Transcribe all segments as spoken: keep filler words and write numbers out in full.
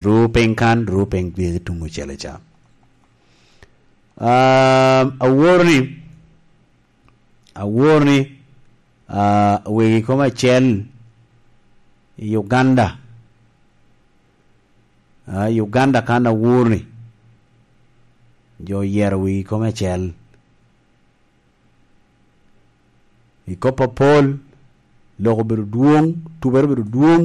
Ru piny kan, ru piny gire tuŋ ocele ca. Um, awor ni, awor ni, uh, wegi kome acel i Uganda. Uh, Uganda kan awor ni, jo oyero wegi kome acel. I kop apol, lok obedo dwoŋ, tubere obedo dwoŋ,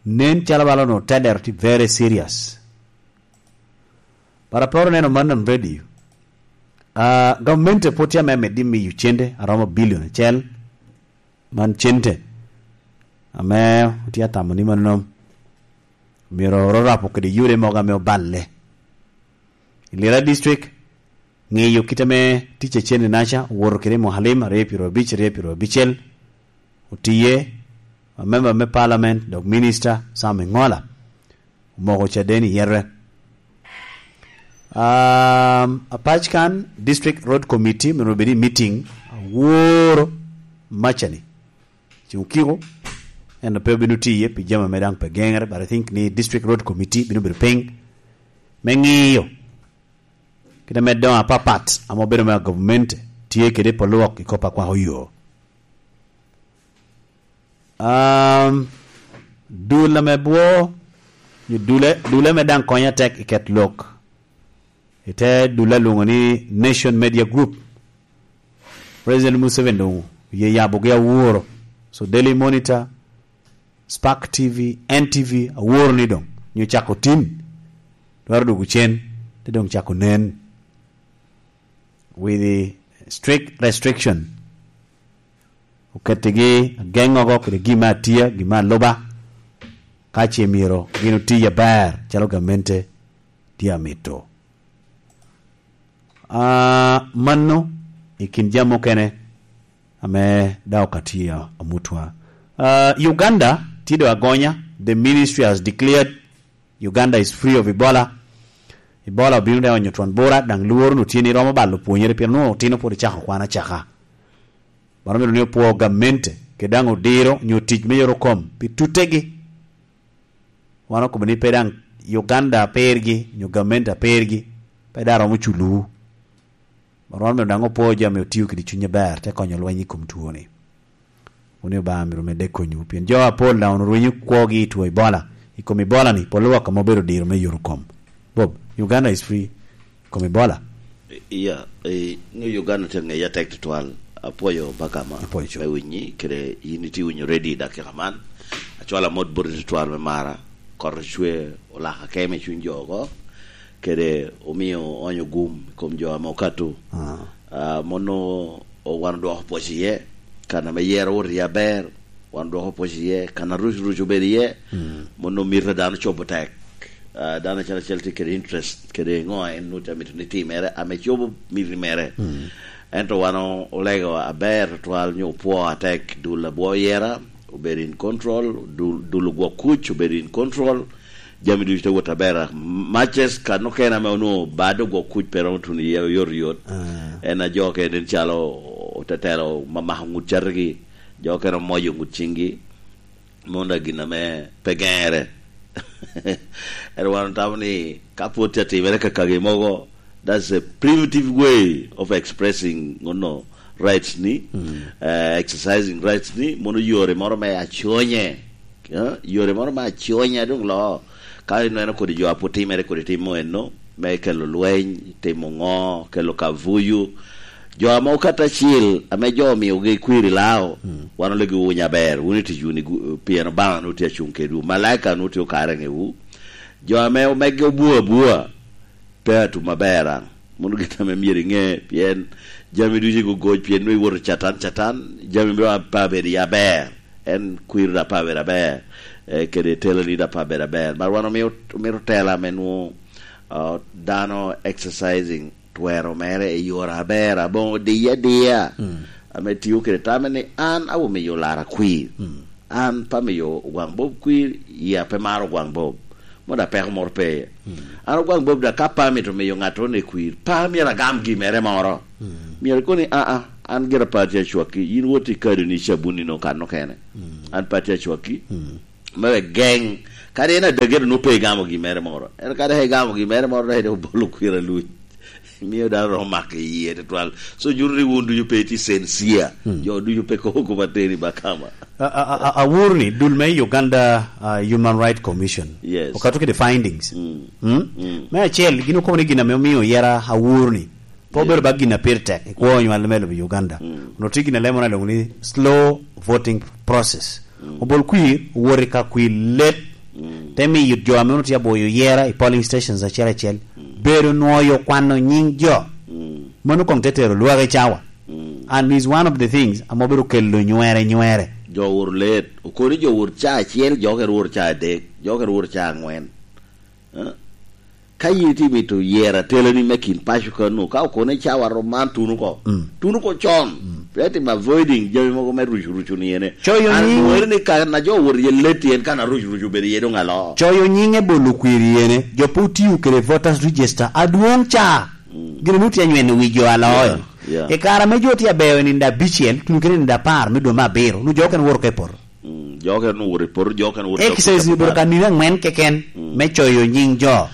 nen calo bala onongo tedero tye very serious. But aporo neno man on radio. Uh, gamente pwod tye ame medde miyo cente aromo billion acel. Man cente ame otye atamo ni mano myero ororapo kede yode mogo ame oballe. I Lira District, ŋiyo kit ame tic a cente naca owoto kede i Muhalim aryo pyero abic, aryo pyero abicel, otiye, a member me parliament, dok minister Sam Iŋola, omoko caden i yete. Um, apac kan, District Road Committee, myero obed i meeting, aworo macani. Ceng okiko, en pe obino tiye, pi jami ame daŋ pe geŋere, but I think ni District Road Committee bino bedo piny, me ŋiyo kit ame doŋ apapat ame obedo me gavumenti tye kede i pol lwok i kop a kwako yo. Um, dul ame bwo, nyo dule, dule me daŋ konyo atek i ket lok, i te dule alwoŋo ni Nation Media Group. President Museveni doŋ oye yabogi aworo. So Daily Monitor, Spark T V, N T V, aworo ni doŋ nyo cako tin, twero dwogo cen, te doŋ cako nen with the strict restriction. Okettigi ageŋogo kede gin me atia, gin me aluba, ka ce myero gin oti aber calo gamente tye amito. Ah, mano i kin jami mukene ame daŋ okati a-, amutwa. Ah, Uganda tye doŋ agonya, the ministry has declared Uganda is free of Ebola. Ebola obino te onyo twon bura, daŋ lworo nu tye ni romo balo pwonyere, pien onwoŋo otino pwod ocako kwan acaka. Mano myero ni opwo gamente, kede daŋ odiro nyo tic me yore kom pi tutegi. Wan okobo ni pe daŋ Uganda apergi, nyo gamente apergi, pe daŋ romo culowu. Rwot myero daŋ opwo jo ame otio kede cuny aber, te konyo lweny i kom twoni. Wun i Obaŋa myero medde konywu, pien jo apol daŋ onwoŋo rwenyo kwogi i two Ebola. I kom Ebola-ni, pol lwak ame obedo diro me yore kom. Bob, Uganda is free i kom Ebola. Iya, eh, ŋe Uganda tye ŋeye atek tutwal. Apwoyo Bagama me winyi, kede yin itye winyo ready i dakika man. Acwalo amot boti tutwal me mara, kot ocwe olaka keme i cuny jo oko, kede omio oonyo gum i kom jo ame okato. Ah. Ah, mono o-, wan odwoko pwoc iye, kan ame yero wot iye aber, wan odwoko pwoc iye, kan aruc ruc obedo iye, mm, mono mito dano cobo tek. Ah, dano acel acel tye kede interest, kede ŋo en nut amito ni timere, ame cobo miti mere. Mm. Ento wan o-, olego aber tutwal nyo opwo atek, dul abwo yera, obedo in control, dul, dul ogwok kuc, obedo in control, jami ducu te wot aber. Matches kan okene ame onwoŋo bad ogwok kuc pe romo tuno iye oyotoyot. Ah. En a jo kene nen calo otetelo ma mako ŋut catigi, jo okene omoyo ŋut ciŋgi. Mono daŋ gin ame pe geŋere. Ento wan otamo ni ka pwod tye atimere kakagi mogo, that's a primitive way of expressing, you know, rights ni, mm, eh, exercising rights ni, mono yore moro me aconye. Eh, yore moro me aconye adwoŋ loo. Ka ineno kodi jo a pwod timere kodi timo enno, me kelo lweny, timo ŋo, kelo kavuyu. Jo ame okato acil, ame jo omiogi kwir i Lao, mm, wan olegi wuny aber, wun i ticwu ni gu-, pien Obaŋa nwoŋo tye acuŋ kedwu, malaika nwoŋo tye okare i ŋewu. Jo ame omegge obwo abwa, pe atum aber daŋ. Mono gin ame myero iŋe, pien jami ducu igogoc, pien nwoŋo iwoto Catan, Catan, jami mito a-, pe abedo i aber. En kwir daŋ pe abedo aber, eh, kede teloni daŋ pe abedo aber. Mar wan omio, omito tela ame nwoŋo, ah, dano exercising twero mere i yore aber, aboŋo diye adiya, mm, ame tio kede tame ni an awumiyo lara kwir. Mm. An pe amiyo Ogwaŋ Bob kwir, yia pe maro Ogwaŋ Bob. Mono daŋ peko moro pe iye. Mm. An Ogwaŋ Bob daŋ ka pe amito miyo ŋattoro ni kwir, pe myero agam gin mere moro. Mm. Myero ikoni, "Aa, an gira pe atye acwakki, yin wot i kadoni cabunni nwoŋo kan okene. Mm. An pe atye acwakki." Mm. Me wek geŋ Kadi en adagere onwoŋo pe igamo gin mere moro. Ento kadi ka igamo gin mere moro, dok obolo kwir aluc. Mio dano romo mako i yie tutwal. So, nyuto ni wun ducu pe itye sincere. Hmm. Jo ducu pe kobo kop ateni bakama. A, a, a, a, awor ni dul me Uganda, uh, Human Rights Commission. Yes. Okato kede findings. Mm. Mm? Mm. Me acel, gin okobo ni gin ame omio yera awor ni. Pe obedo ba gin a pire tek i kwo onywal me lobo Uganda. Mm. Onwoŋo tye gin a lemo na lwoŋo ni slow voting process. Mm. Obol kwir, owot i ka kwir let. Mm. Te miyo jo ame onwoŋo tye aboyo yera i polling stations acel acel. Mm. Bedo nwoyo kwano nying jo. Mm. Mano koŋ te tero lwak i cawa. Mm. And is one of the things ame obedo kelo nywere nywere. Jo wor let. Okoni jo wor ca acel, jo kere wor ca adek, jo kere wor ca angwen. Eh? Ka yin itye mito yero atelani me kin paco kano, ka okone cawa rom man, tuno oko. Mm. Tuno oko con. Mm. Pe tim avoiding jami mogo me ruc ruc oniene. Coyo nying. An weri ni ka na jo wor ye leti en ka na ruc ruc obedo ye dong alo. Coyo nying e bolo kwir yene. Jo pe otiyo kede voters register adwoŋ ca. Mm. Gin onwoŋo tye anyweno wi jo aloyo. Yeah, yeah. I kare ame jo tye abeyo i nino abicel, tuno kede nino apar me dwe me abiro, onwoŋo jo okene woro ka i poto. Mm, jo okene owoto i poto, jo okene owoto i Exercise ni owoto i obedo ka nino angwen keken. Mm. Me coyo nying jo.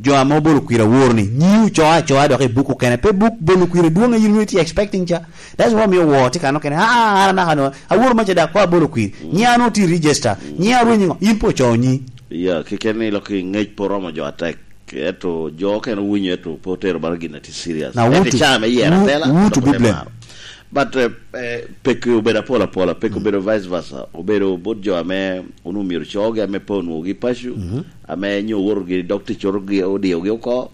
Jo ame obolo kwir awor ni, nyiu ocoa acoa dok i buk okene. Pe buk bolo kwir adwoŋ a yin onwoŋo itye expecting ca. That's why omio woo tye kano kene. Ah, ah, an anaka no. Awor maca dak kwa abolo kwir. Mm. Nyiŋa onwoŋo tye register. Mm. Nyiŋa arwenyo ŋo? In pe ocoyo nyi. Yeah, keken ni lok i ngec pe oromo jo atek. Eto jo okene owinyo, eto pe otero bala gin a tye serious. Now, who to, who, who to be blamed? But, eh, eh, peki obedo apol apola, peki obedo vice versa, obedo bot jo ame onwoŋo myero cogi ame pe onwoŋogi paco, ame nyo owotogi dok ticoro gi, odiogi oko.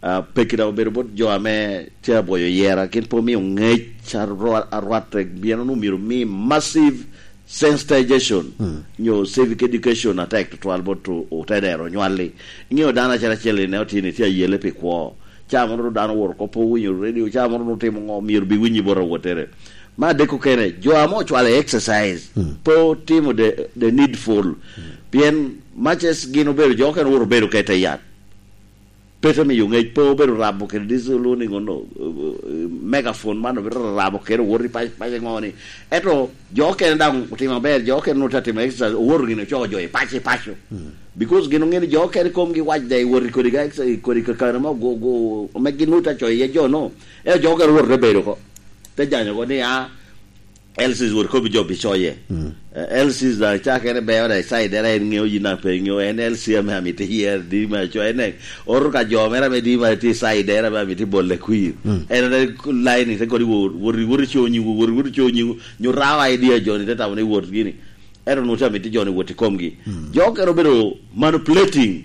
Ah, peki daŋ obedo bot jo ame tye abwoyo yera, gin pe omio ngec arwa-, arwatte, pien onwoŋo myero omi massive sensitization, nyo civic education atek tutwal bot o-, otenero onywalli. Iŋeo dano acel acel i ne otino itye ayele pi kwo. Ca mono dano owoto oko pe owinyo radio, ca mono otimo ŋo, myero bi winyi bot awottere. Ma adek okene, jo ame ocwalo i exercise, pe otimo the, the needful. Pien maces gin obedo, jo okene owoto obedo ka i te yat. Pe te miyo ŋec, pe obedo rabo kede diesel, oniŋo no, eh, eh, megaphone man obedo rabo kede owot i pac, pac ŋo ni. Ento jo okene daŋ otimo aber, jo okene onwoŋo tye atimo exercise, owoto gin ocoko jo i pac, i paco. Because gin oŋeo ni jo okene komgi wac da i wot i kodi ka exercise, i kodi kakano ma ogo-, go-, ame gin onwoŋo tye acoyo iye jo no. Ento jo okene owoto te bedo oko. Te janyo oko ni, ah, L Cs wot kobbi jo pi coye. Eh, L Cs daŋ cakere beo da i side era, en ŋeo yin daŋ pe ŋeo, en L C ame amito iyer, di ma co, en ŋeo. Oro ka jo mere ame di ma tye i side era ame amito bole kwir. En ore line te kodi wot, wot, wot i co nyiwu, wot, wot i co nyiwu, nyo rawa idea jo ni te tamo ni wot gini. Ero nu te amito jo ni wot i komgi. Jo okene obedo manipulating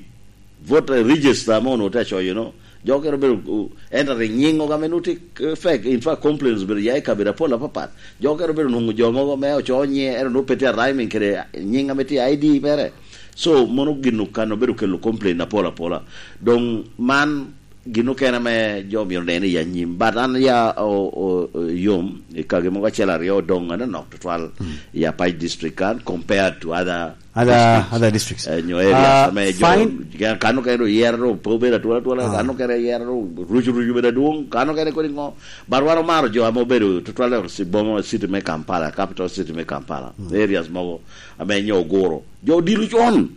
voter register ame onwoŋo tye acoyo no. Jo okene obedo, uh, entering nying oga me nuti, uh, fake. In fact, complaints obedo ya i kabedo apol apapat. Jo okene obedo nwoŋo jo mogo me oco nye, ero nwoŋo pe tye a rhyming kede nying ame tye I D mere. So, mono gin okano obedo kelo complain apol apola. Doŋ man gin okene ame jo myero nen i anyim. But an ya o, o, o, yom i kagi mogo acel aryo doŋ anonok tutwal i Apac District kan compared to other Other, districts. Other districts. Eh, nyo areas, ah, ame jo, fine. Kano kene oyero, pe obedo atwal atwal, ah, kano kene oyero, rucu rucu obedo adwoŋ, kano kene kodi ŋo. But wan omaro jo ame obedo tutwal i boma, city me Kampala, capital city me Kampala. Areas mogo ame nyo oguro. Jo odilo con.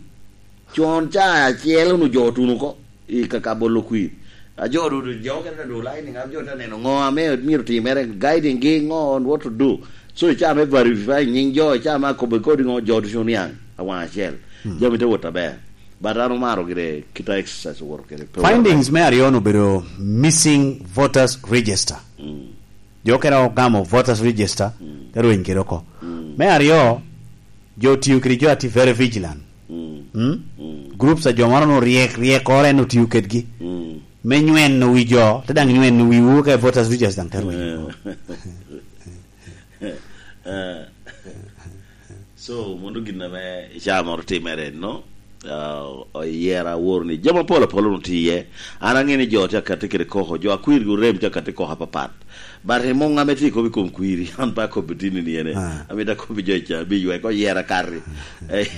Con ca acel onwoŋo jo otuno oko. I ka, ka bolo kwir. A jo dudu, jo okene dudu lining up, jo te neno ŋo ame myero timere, guiding gi ŋo on what to do. So, i caa me verify nying jo, i caa me akobo kodi ŋo, jo ducu oniaŋ awaŋ acel. Jami te wot aber. But an omaro gire kita exercise owoto kede. Findings me aryo-nu obedo missing voters register. Jo okene ogamo voters register, te rweny kede oko. Me aryo, jo otiyo kede jo a tye very vigilant. Mm? Groups a jo moro nu ryek, ryek oro en otiyo kedgi. Me nyweno wi jo, te daŋ nyweno wiwu ka voters register daŋ te rwenyo. Eh. So, mono gin ame i caa moro timere, no? Ah, oyera awor ni jami apol apol onwoŋo tye iye. An aŋeo ni jo tye akatti kede koko, jo akwirgi orem tye akatti koko apapat. But i muŋ ame tye i kop i kom kwiri, an pe akobbi tini ni ene. Ah. Amito akobbi jo ca, bi ywek oyera kati. Eh.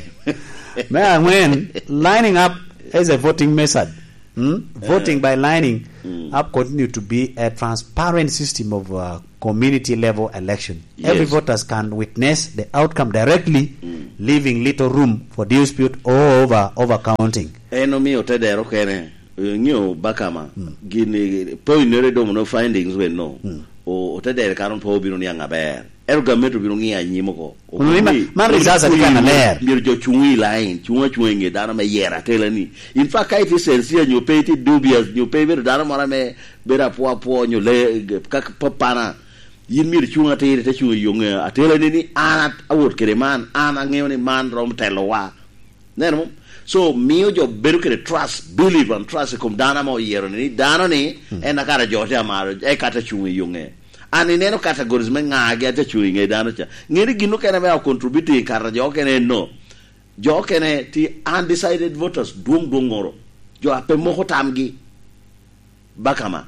Me aŋwen, lining up as a voting method. Hmm? Voting by lining up continue to be a transparent system of, uh, community level election. Every voters can witness the outcome directly, leaving little room for dispute or over, over counting. En omio tedero kene, eh, ng'eyo bakama, gini, point nere domo no findings we no. O, otedero kano pe obino niaŋ aber. Ento gamente obino ŋiyo anyim oko. Okobo ni ma-, man results ati kan aler. Myero jo cuŋ i line, cuŋ acuŋa i ŋe dano me yero atela ni. In fact, ka itye sincere nyo pe itye dubious, nyo pe ibedo dano moro ame bedo apwo apwo, nyo le, ka, ka papana, yin myero icuŋ atir, ite cuŋ i yo ŋe atela ni, ni an at-, awot kede man, an aŋeo ni man romo telowa. Neno mo? So, mio jo bedo kede trust, believe and trust i kom dano ame oyero ni, ni dano ni, en a kara jo te amaro, eka te cuŋ i yo ŋe. An ineno categories me ŋagi a te cuŋ i ŋe dano ca. Ŋeni gin okene ame o contributing kara jo okene en no. Jo okene ti undecided voters dwoŋ dwoŋ ŋoro. Jo a pe moko tamgi. Bakama.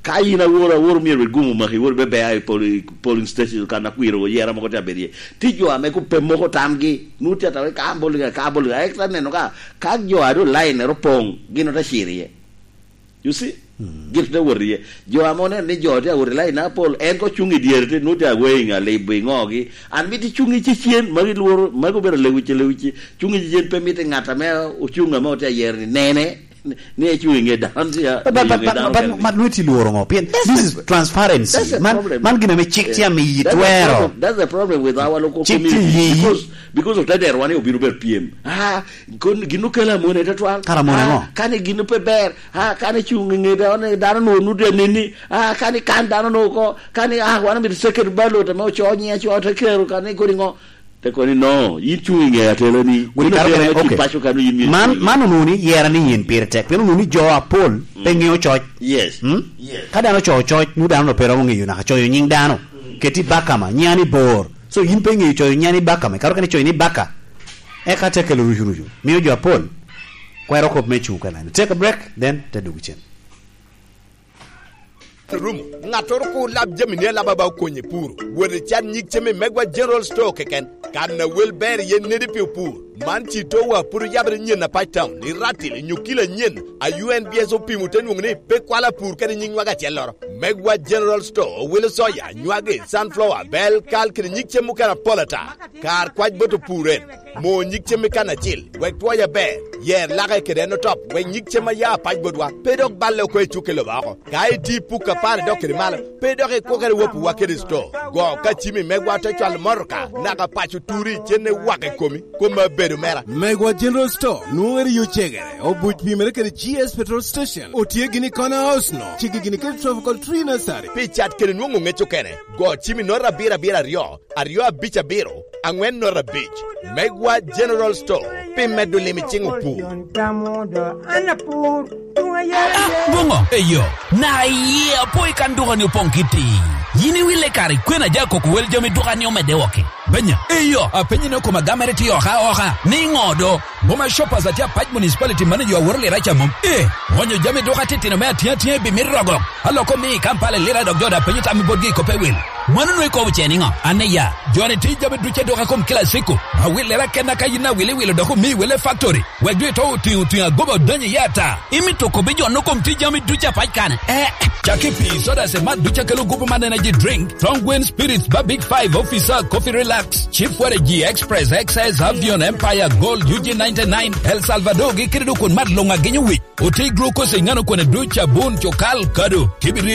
Ka in aworo, aworo myero wek gum omaki, iwor bebe a i pol-, polling station kan akwiro oyera mogo te abedo iye. Ti jo ame ku pe moko tamgi, nu ti atawe ka bol ga, ka bol ga. Ek ta neno ka, ka jo a do line ero poŋ, gin ote ciro iye. You see? Gin te wot iye. Jo ame oneno ni jo te awot i line apol, en ko cuŋ i dyere te, nu te away ŋa, libo i ŋogi. An miti cuŋ i cecen, magi lworo, magi obedo lewic, lewic. Cuŋ i cecen pe miti ŋat ame ocuŋ ame ote ayero ni nene. Ni ecuŋ i ŋe dano, ci a-, But, but, i ŋe but, dano but, kene. But, but, nweti lworo ŋo? Pien this is transparency. That's the problem. Man, man gin ame cik tye amiyi twero. That's the problem. That's the problem with our local community. Cik tye yiyi. Because, because of tedero wan obino ber pyem. Ah, kon-, gin okelo amone tutwal. Kara amone ŋo? Ah, kani gin pe ber. Ah, kani cuŋ i ŋe dano, dano no nude nini. Ah, kani kan dano no ko. Kani, ah, wan amito second ballot ame oco nyiŋ aco te kero kani kodi ŋo. Te kono ni, "No, yin cuŋ i ŋe atelani." Yin kare okene, atelani, okay. Paco kano yin myero man, cuŋ i ŋe. Man onwoŋo ni yera ni yin pire tek, pien onwoŋo ni jo apol pe ŋeo coc. Yes. Hmm? Yes. Ka dano ocoyo coc, nwoŋo dano pe romo ŋeyo naka coyo nyiŋ dano. Keti Bakama, nyiŋa ni Bor. So, yin pe ŋeyo coyo nyiŋa ni Bakama, kare okene coyo ni Baka. Eka te kelo rucu rucu. Mio jo apol kwero kop me cuŋ kena. Take a break, then te dwogo cen. Rum, ŋattoro kur lab jami ni alaba okony i pur. Wot i can nyig cem i Megwa General Store keken. Kan a wel ber iye nedi pi opur. Man ci towa pud oyabere nyen apac town i Ratil i Nyukila nyen a U N B S opimo te nwoŋo ni pe kwalo apur kede nyiŋ nwaga acelloro. Megwa General Store owelo soya, nywagi, sunflower, bel, kal kede nyig cem mukene apol ata. Kar kwac bot opur en. Mo nyig cem i kan acil, wek twoye aber. Yer lake kede en otop, wek nyig cem a ya apac botwa pe dok balle oko i cukke lobo oko. Ka iti puk apar idok kede malo, pe dok ikwokere wopiwa kede sto. Go ka cimi megwa te cwalo motoka, naka paco turi cenne wak i komi, kom abedo mera. Megwa General Store, nwoŋere yo cegere, obuc pimere kede G S Petrol Station, otye gini i Corner House no, cigi gini kede Tropical Tree Nursery. Pi cat kede nwoŋo ŋec okene, go cimi nota abiro abiro aryo, aryo abic abiro, aŋwen nota abic. Megwa General Store, pi medo lim i ciŋ opur. An apur, tuŋ ayare. Ah, boŋo? Eyo, na iye apo i kan dukani opoŋ kiti. Yin iwille kare kwena ja koko wel jami dukani omedde woko. Benya, eyo, apenyi ni okoma gamere tye oka oka. Ni ŋo do? Boma Shoppers atye apac municipality manager aworo lira ca mom. Eh, onyo jami duka titino me atiŋ atiŋa i bimit rogo. Aloko mi i Kampala i lira dok jo da penyo tam i botgi i kop ewil. Mano nwe ikobo ce niŋo? An iya, joni ti jami duce duka kom kila siko. Awillera kenna ka yin awil iwilo dok omi wele factory. Wek dwe to otiŋo otiŋo agoba odonyo iye ata. Imito kobbi jo no kom ti jami duce apac kane. Eh, caki pi soda se mat duce kelo gupu man energy drink. Thongwen Spirits ba Big Five Officer Coffee Relax. Chief Waragi Express X S Avion Empire Gold U G ninety-nine El Salvador gi kede dukun mat luŋ agenyo wic. Oti glucose i ŋano kwene duc abun cukal kado. Kibiri